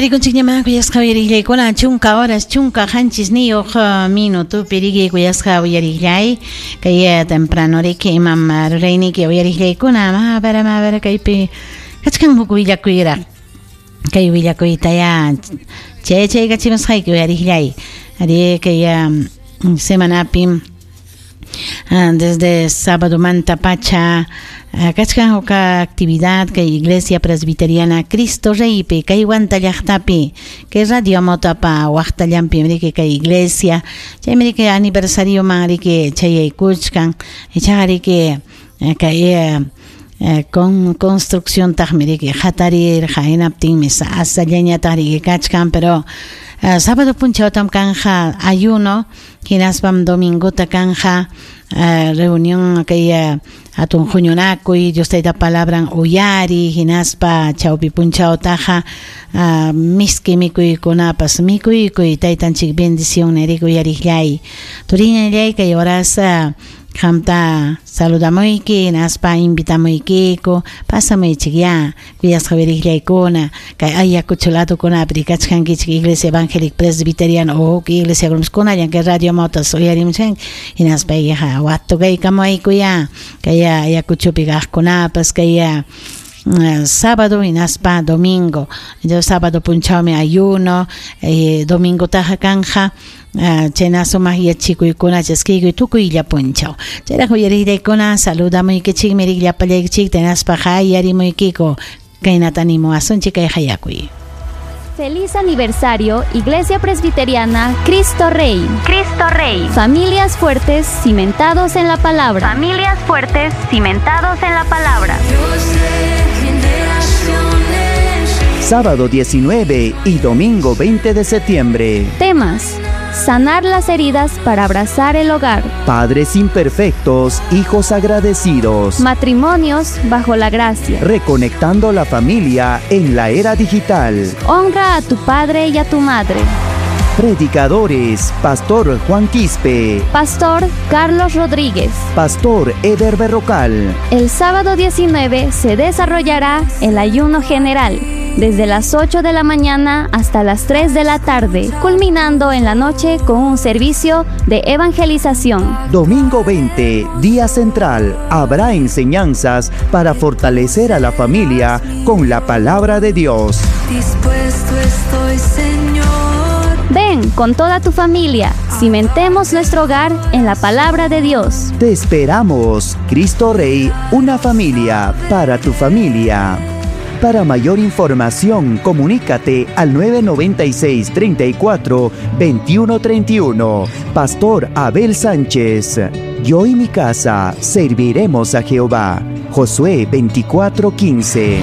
Tarikunchikñamá kuyasqa uyariqllaykuna chunka horas 17 minutopi riki kuyasqa uyariqllay kay temprano riki imam rurayniki uyariqllaykuna mabara mabara kaypi kachkan huk willakuyraq kay willakuytaya chay chaykachimusqayki uyariqllay ari kay semanapim desde sábado manta pacha kachkan huk actividad kay Iglesia Presbiteriana Cristo Reypi kay Huanta llaqtapi kay Radio Motapa waqtallanpi riki kay iglesia chaymi riki aniversarioman riki chayaykuchkan ichaqa riki kay con construcción taqmi riki hatarirqa hinaptinmi sasallañataq riki kachkan pero sábado punchawtam kanja ayuno hinaspam domingota kanja reunión kay hatun huñunakuy Dios tayta palabran uyari hinaspa chawpi punchawtaqa miski mikuykunapas mikuykuy taytanchik bendición riki uyariqllay turiñallay kay horas qamta saludamuyki hinaspa invitamuykiku pasamuychik ya kuyasqa uyariqllaykuna kay Ayacucho ladokunapi kachkankichik Iglesia Evangélica Presbiteriana o huk iglesia kunallan kay Radio Motas uyarimuchkanki hinaspa watukaykamuwayku ya kay Ayacuchopi kaqkunapas kay sábado hinaspa domingo sábado punchawmi ayuno domingotaqa kanja chayna sumaq yachikuykuna chaskiykuy tukuylla punchaw chayraq uyariqllaykuna saludamuykichikmi riqllapallaykichikta hinaspa hayarimuykiku kaynata animuwasunchik kay hayakuy. Feliz aniversario, Iglesia Presbiteriana Cristo Rey. Cristo Rey. Familias fuertes cimentados en la palabra. Familias fuertes cimentados en la palabra. Sábado 19 y domingo 20 de septiembre. Temas: sanar las heridas para abrazar el hogar. Padres imperfectos, hijos agradecidos. Matrimonios bajo la gracia. Reconectando la familia en la era digital. Honra a tu padre y a tu madre. Predicadores: Pastor Juan Quispe, Pastor Carlos Rodríguez, Pastor Eder Berrocal. El sábado 19 se desarrollará el ayuno general, desde las 8 de la mañana hasta las 3 de la tarde, culminando en la noche con un servicio de evangelización. Domingo 20, día central, habrá enseñanzas para fortalecer a la familia con la palabra de Dios. Dispuesto estoy, Señor. Ven con toda tu familia, cimentemos nuestro hogar en la palabra de Dios. Te esperamos, Cristo Rey, una familia para tu familia. Para mayor información, comunícate al 996 34 21 31. Pastor Abel Sánchez. Yo y mi casa serviremos a Jehová. Josué 24 15.